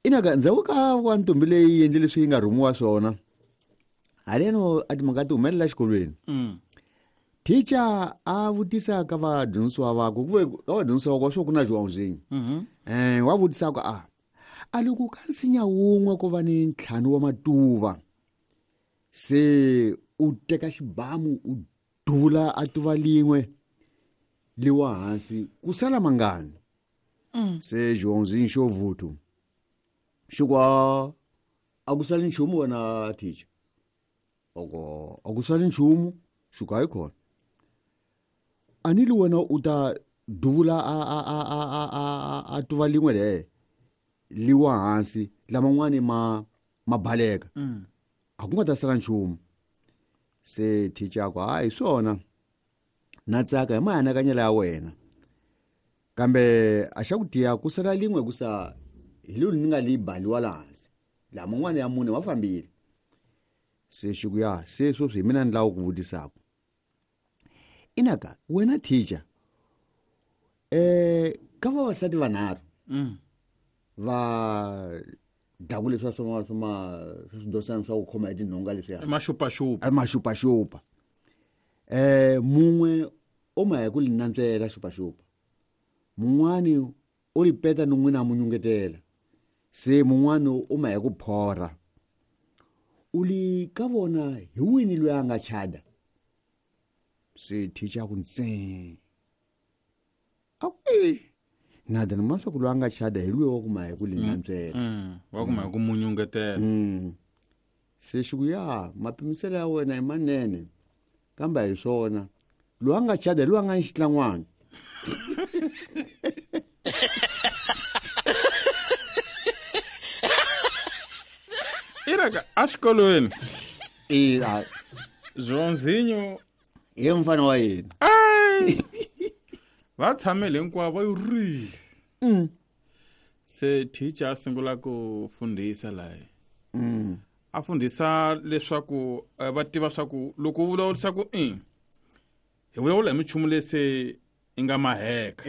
Inaka ndzhaku ka wa ntombi leyi endle leswi yi nga rhumiwa swona, haleno a timhaka ti humelela exikolweni. Teacher a vutisa ka vadyondzisiwa vakwe, ku ve ka vadyondzisiwa vakwe swo ku na Joãozinho. Wa vutisa ku a loko ka nsinya wun'we ku va ni 5 wa matuva, se u teka xibamu u duvula a tuva lin'we liwa hansi ku sala mangani. Se Joãozinho xo vuthu xi ku a ku sali nchumu wena teacher. Oko a ku sali nchumu, xi ku hayi khona. A ni li wena u ta duvula a tuva lin'we le liwa hansi laman'wani ma baleka. A ku nga ta sala nchumu. Se teacher a ku hayi swona, na tsaka hi maanakanyelo ya wena, kambe a xa ku tiya ku sala lin'we ku sa hi lolu ni nga li baliwa la hansi, laman'wana ya mune ma fambile. Se xi ku ya se sweswi hi mina ni lava ku vutisaka. Inaka wena teacher, ka vavasati vanharhu va dlaku leswiya swa swidosana swa ku khoma hi tinhonga leswiya. I maxupaxupa. I maxupaxupa. Mun'we o ma hi ku li nantswela xupaxupa, mun'wani o li peta ni n'wina a mu nyungetela, se mun'wani o ma hi ku phorha. U li ka vona hi wini loyi a nga chada? Se teacher a ku ntsee. A ku, e, na dana ma swa ku loyi a nga chada hi loyi wa ku ma hi ku li nantswela. Wa ku ma hi ku mu nyungetela. Se xi ku ya, mapimiselo ya wena i manene, kambe a hi swona. Loyi a nga chada hi loyi a nga ni xitlangwana. Iraka exikolweni. E, a Joãozinho hi mfana wa yena. Ai! Va tshamele hinkwavo va ri. Se teacher a sungula ku fundhisa laha. A fundhisa leswaku va tiva swa ku loko u vulavurisa ku i, hi vulavula hi minchumu leyi se yi nga maheka.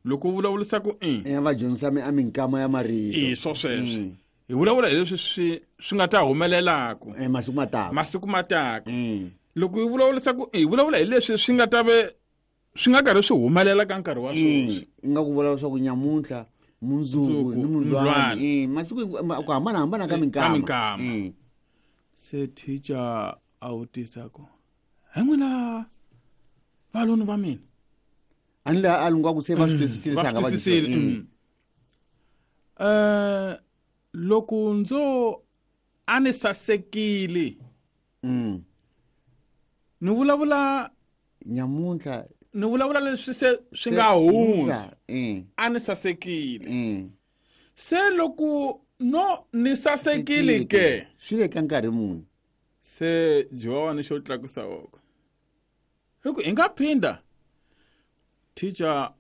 Loko u vulavurisa ku i, Va dyondzisa a minkama ya marito. I swo sweswo. Hi vulavula hi leswi swi nga ta humelelaka. Masiku ma taka. Masiku ma taka. Loko hi vulavurisa ku i, hi vulavula hi leswi swi nga ta ve swi nga karhi swi humelela ka nkarhi wa sweswi. I nga ku vulavula swa ku nyamuntlha, mundzuku, Mundzuku, ni mundlwana. mundlwana. Masiku ku hambanahambana ka Ka minkama. minkama. Se teacher a vutisa ku, he n'wina valoni va mina. A ni laha a lunga ku se va swi twisisile Va hlanga va swi twisisile, dyondzisiwa. Loko ndzo a ni sasekile. Ni vulavula nyamuntlha. Ni vulavula leswi se swi nga Se hundza. hundza, A ni sasekile. Se loko no ni sasekile ke. Swi le ka nkarhi muni? Se Joan xo tlakusa voko. Hi ku hi nga phinda. Teacher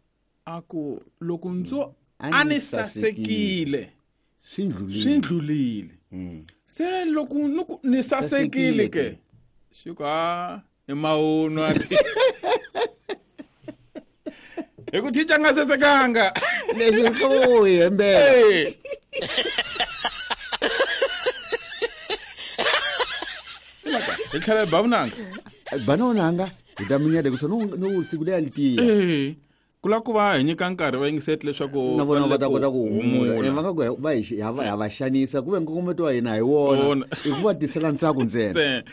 a ku loko ndzo A a ni ni sasekile. Swi ndlulile. Swi ndlulile. Se loko ni ku ni sasekile ke. Xi ku a i mawunwa. Hi ku teacher nga sasekanga. Leswi swi hlovo hi hembela. Hey. Hi tlhela hi ba vunanga. Ba na vunanga, hi ta minyeta ku sa no siku leyi a li tiya. Ku lava ku va hi nyika nkarhi va yingiseti leswaku na vona va ta va le kota ku humula. humula. Va nga ku va hi va ha va xanisa, ku ve nkongometo wa hina hi wona. Wona. I ku va tisela ntsako ntsena. Ntsena.